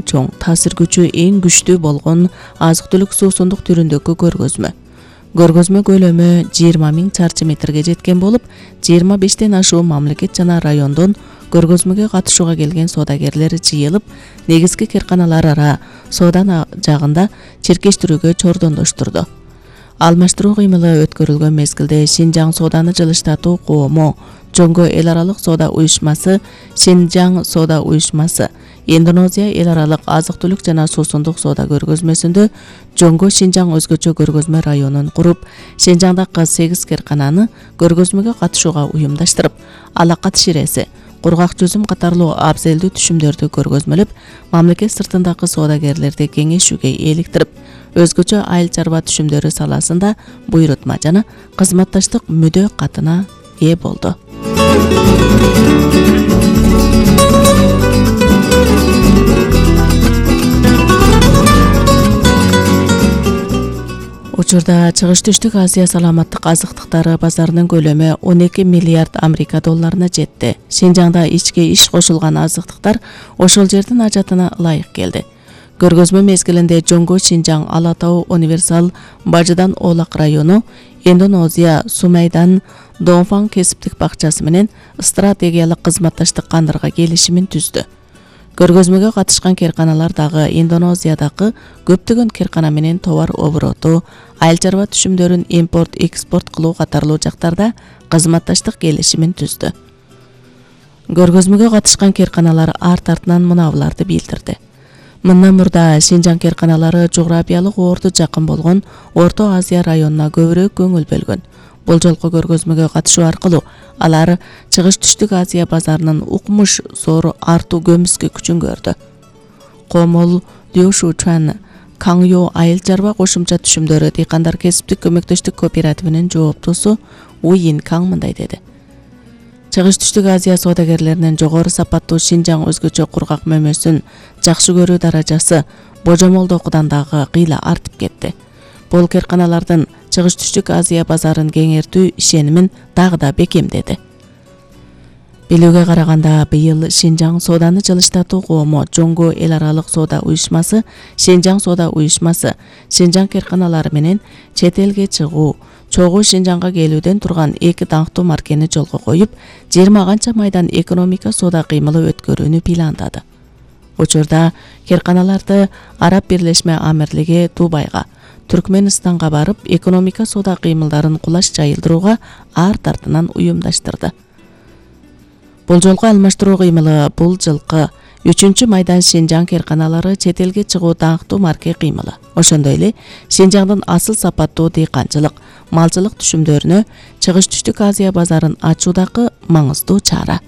чоң, таасир күчү эң күчтүү болгон азык-түлүк суусундук түрүндөгү көргөзмө. Көргөзмө көлөмү 20 000 чарчы метрге жеткен болуп, 25тен ашуу мамлекет жана райондон көргөзмөгө катышууга келген соодагерлер жыйылып, негизги кырканалар ара соода жагында чиркештирүүгө чордондоштурду. Алмаштыруу кыймылы өткөрүлгөн мезгилде Шинжаң сооданы жылыштатуу коому, Жоңго эл аралык соода уюшмасы, Шинжаң соода уюшмасы, Индонезия эл аралык азык-түлүк жана суусундук соода көргөзмөсүндө Жоңго Шинжаң өзгөчө көргөзмө районун куруп, Шинжаңдагы 8 кыркананы көргөзмөгө катышууга уюмдаштырып, алакат ширеси, кургак жүзүм катарлуу абзелдүү түшүмдөрдү көргөзмөлөп, мамлекет сыртындагы соодагерлерди кеңешүүгө эликтирип, өзгөчө айыл чарба түшүмдөрү саласында буйрутма жана кызматташтык мүдө катына ээ болду. Учурда Чыгыш Түштүк Азия саламаттык азыктыктары базарынын көлөмү 12 миллиард Америка долларына жетти. Шинжаңда ичке иш кошулган азыктыктар ошол жердин ажатына ылайык келди. Көргөзмө мезгилинде Жоңго Шинжаң Ала Тоо Универсал Бажыдан Оолак району, Индонезия Сумайдан Донфан кесиптик бакчасы менен стратегиялык кызматташтык кандырга келишимин түздү. Көргөзмөгө катышкан кырканалар дагы Индонезиядагы көптөгөн кыркана менен товар обороту, айыл чарба түшүмдөрүн импорт-экспорт кылуу катарлуу жактарда кызматташтык келишимин түздү. Көргөзмөгө катышкан кырканалар арт артынан мынабуларды билдирди. Мындан мурда Шинжаң кырканалары жографиялык орду жакын болгон Орто Азия районуна көбүрөөк көңүл бөлгөн. Бул жолку көргөзмөгө катышуу аркылуу алар Чыгыш Түштүк Азия базарынын укмуш зор артуу көмүскө күчүн көрдү. Комол Лёшучан Каңё айыл чарба кошумча түшүмдөрү дыйкандар кесиптик көмөктөштүк кооперативинин жооптусу Уин Каң мындай деди. Чыгыш Түштүк Азия соодагерлеринин жогору сапаттуу Шинжаң өзгөчө кургак мөмөсүн жакшы көрүү даражасы божомолдогудан дагы кыйла артып кетти. Бул кырканалардын Чыгыш Түштүк Азия базарын кеңейтүү ишенимин дагы да бекемдеди. Билүүгө караганда, быйыл Шинжаң сооданы жылыштатуу коому, Жоңго эл аралык соода уюшмасы, Шинжаң соода уюшмасы, Шинжаң кырканалары менен чет элге чыгуу, чогуу Шинжаңга келүүдөн турган 2 даңктуу маркени жолго коюп, 20 канча майдан экономика соода кыймылы өткөрүүнү пландады. Учурда кырканаларды Араб Бирлешме Амирлиги Дубайга, Түркменистанга барып, экономика соода кыймылдарын кулаш жайылдырууга арт артынан уюмдаштырды. Бул жолку алмаштыруу кыймылы бул жылкы 3 майдан Шинжаң кырканалары чет элге чыгуу даңктуу марке кыймылы. Ошондой эле Шинжаңдын асыл сапаттуу дыйканчылык, малчылык түшүмдөрүнө Чыгыш Түштүк Азия базарын ачуудагы маңыздуу чара.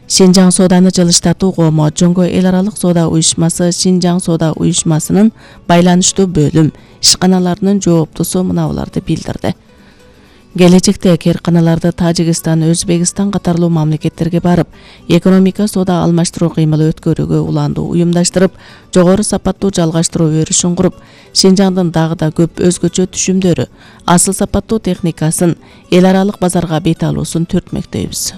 Шинжаң сооданы жылыштатуу коому, Жоңго эл аралык соода уюшмасы, Шинжаң соода уюшмасынын байланыштуу бөлүм ишканаларынын жооптусу мынабуларды билдирди. Келечекте кырканаларды Тажикстан, Өзбекстан катарлуу мамлекеттерге барып, экономика соода алмаштыруу кыймылы өткөрүүгө уланду уюмдаштырып, жогору сапаттуу жалгаштыруу өрүшүн куруп, Шинжаңдын дагы да көп өзгөчө түшүмдөрү, асыл сапаттуу техникасын эл аралык базарга бет алуусун түртмөктөйбүз.